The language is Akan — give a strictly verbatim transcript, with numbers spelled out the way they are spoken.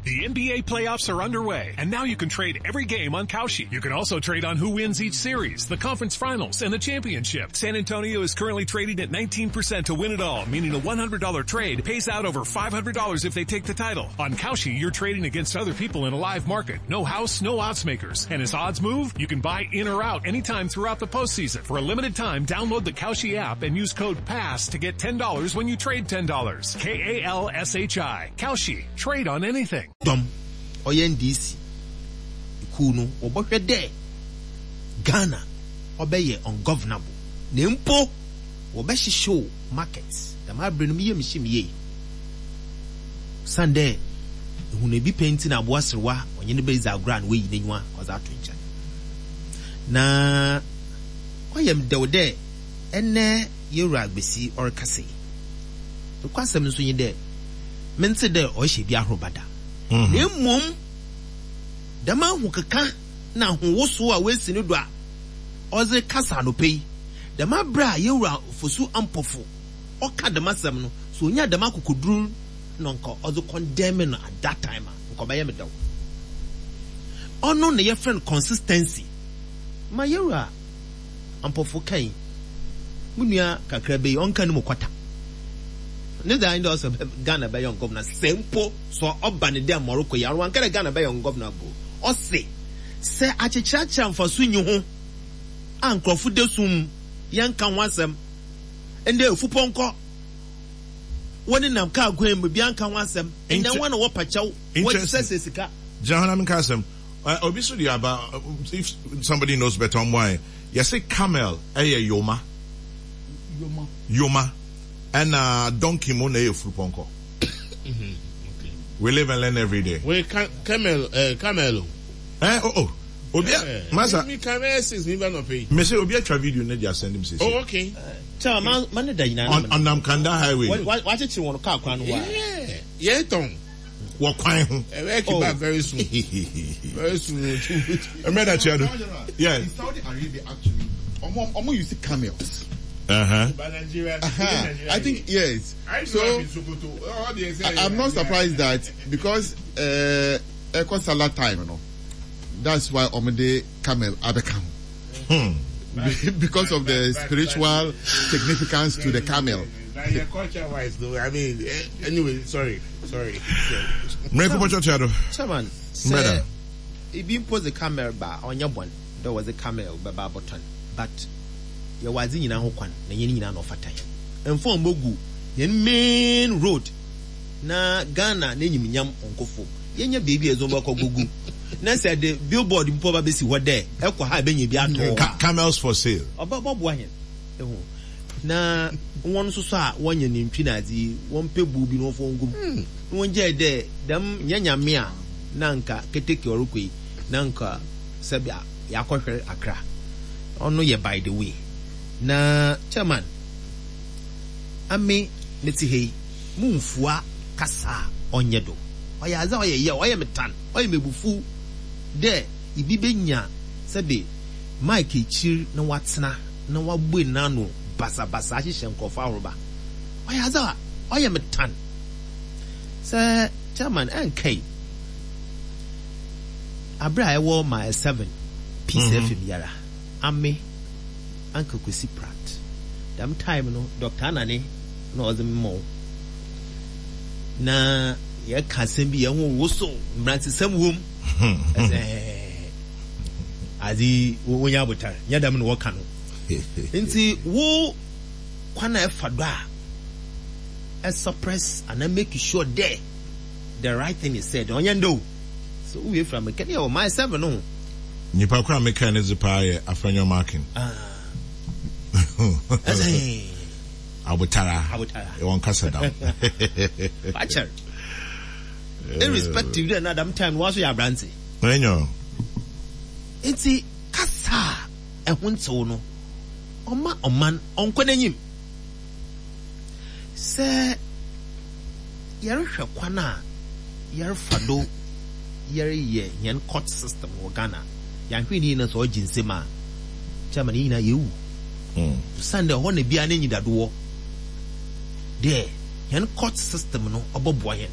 The N B A playoffs are underway, and now you can trade every game on Kalshi. You can also trade on who wins each series, the conference finals, and the championship. San Antonio is currently trading at nineteen percent to win it all, meaning a one hundred dollar trade pays out over five hundred dollars if they take the title. On Kalshi, you're trading against other people in a live market. No house, no odds makers. And as odds move, you can buy in or out anytime throughout the postseason. For a limited time, download the Kalshi app and use code PASS to get ten dollars when you trade ten dollars. K A L S H I. Kalshi. Trade on anything. Dɔm ɔyɛ N D C kuw no, wɔbɛhwɛ dɛ Ghana ɔbɛyɛ ungovernable na mpo wɔbɛhyehyɛw market. Dɛm abere no meyɛ mehyɛ me yie san dɛ ehunu ebi pɛ nti na aboa serewa ɔnye ne bɛdzi agorɔ a na wayi n'enyiwa ɔdze ato nkyɛn na ɔyɛ m dɛw dɛ ɛnɛ yɛwura Agbesi ɔrekasa yi. Nokwasɛm nso nye dɛ mente dɛ ɔhyɛ bi ahorow bada, na mmom dɛm ahokeka na ahowosow a woesi no do a ɔdze kasa anɔpɛ yi, dɛm abere a yɛwura Fosu Ampɔfo ɔka dɛm asɛm no so, onya dɛm akokoduru na nka ɔdze condemn no at that time a, nka ɔbɛyɛ me dɛw. Ɔno na yɛfrɛ no consistency ma yɛwura Ampɔfo kan mu nua kakra bɛyi ɔnka no mu kɔta ne dza ndɛ ɔsɛ Ghana bɛyɛ ungovernable. Sɛ mpo sɛ ɔba ne dɛ mɔrokɔ yi ano wanka dɛ Ghana bɛyɛ ungovernable, ɔse sɛ akyekyerɛkyerɛ mfaso nyi ho a nkurɔfo da sum yɛnka ho asɛm, ndɛ efupɔnkɔ wɔne nam kaa kwan mu bia nka ho asɛm, ndɛ wɔn na wɔpa kyɛw wɔsɛ sɛ sika. Gyina hɔ na menka asɛm. Obi so de aba, if somebody knows better, ɔmmoa yɛn. Yɛse camel ɛyɛ yoma. Yoma. Yoma ɛna donkey mu na ɛyɛ furupɔnkɔ. We live and learn every day. Wait, camel, uh, camel. Eh, oh, oh. Obi a, masa. Mi camel six mi ba no pay. Me say obi atwa video ne de asɛn nim sisi. Oh, okay. Kyɛ ma ma ne da nyinaa. Ɔnam Kanda Highway. Wakyekyere wɔn kaa kwan no wa. Yeah, yeah, tɔn. Wɔ kwan ho. Ɛbɛ kiba very soon. Very soon. Ɛmɛ da kyerɛ do. Yeah. In Saudi Arabia, actually, ɔmo ɔmo use camels. Uh-huh. But Nigeria, uh-huh. I think yes. I So I, I, I'm not surprised that because uh, Eco Salah time, you know, that's why ɔmo de camel abɛka ho. Hmm. Because of the spiritual significance to the camel. Culture wise, though, I mean, anyway, sorry, sorry. Mmerɛ kɔpɔ kyerɛ do. Chairman, sɛ ebi mpo dze camel ba, ɔnyɛ bɔn dɛ wɔdze camel bɛba abɔtɔn, but yɛwɔ adze nyinaa ho kwan na yɛn nyinaa na ɔfata yɛn mfa ɔmmɔgu yɛn main road na Ghana n'enyimnyam ɔnkɔ fam. Yɛnyɛ beebi a ɛdze ɔbɛkɔ gugu na sɛ de billboard mpo ba bɛsi hɔ dɛ ɛkɔ ha ɛbɛnya bi atɔ hɔ. Camels for sale. Ɔbɛ bɔboa yɛn ehu na wɔn nso so a wɔnyɛ nantwi na adze yi, wɔn pɛ buo bi na wɔfɔ ngum na wɔn gyae dɛ dɛm nyɛ Nyame a na nka keteke ɔrekɔ yi na nka sɛbi yakɔhwɛ Akra. Ɔno yɛ by the way. Na chairman, ame mete ha yi mumfua kasa a ɔnyɛ do, ɔyɛ adze a ɔyɛ yɛ ɔyɛ me tan, ɔyɛ me bufu dɛ ibi benya sɛbi mic ekyir na watena na wabue n'ano basabasa ahyehyɛ nkurɔfo ahoroba. Ɔyɛ adze a ɔyɛ me tan sɛ chairman ɛnkai abere a ɛwɔ Mile Seven Peace mm -hmm. F M yara ame anka Kwesi Pratt dɛm time no, Doctor Anane na ɔdze mmɔ na yɛka asɛm bi, yɛn ho woso mmerantisɛm wom ɛsɛ adze wonya abotare nyɛ dɛm na wɔka no. Nti wo kwan a ɛfa do a ɛsuppress ana make sure dɛ the right thing is said, ɔnyɛ ndɛ o. So wowie fira meka ne yɛ wɔ Mile Seven no ho. Nipa koro a meka ne dze paa yɛ Afenyo Markin. Ɛsɛ abotara. Abotara. Wɔn kasa dam. Wakyɛr irrespective dɛ na dam time no waso yɛ aberante. Ɛnyɛ. Nti kasa a ɛho ntew no ɔma ɔman ɔnkɔ n'anim. Sɛ yɛrehwɛ kwan a yɛrefa do yɛreyɛ yɛn court system wɔ Ghana, yɛahwɛ ne nyinaa sɛ ɔgye nsɛm a, chairman, yɛn nyinaa yɛwu sane dɛ hɔ na biara n'enyi dadoɔ dɛ yɛn court system no ɔbɛboa yɛn.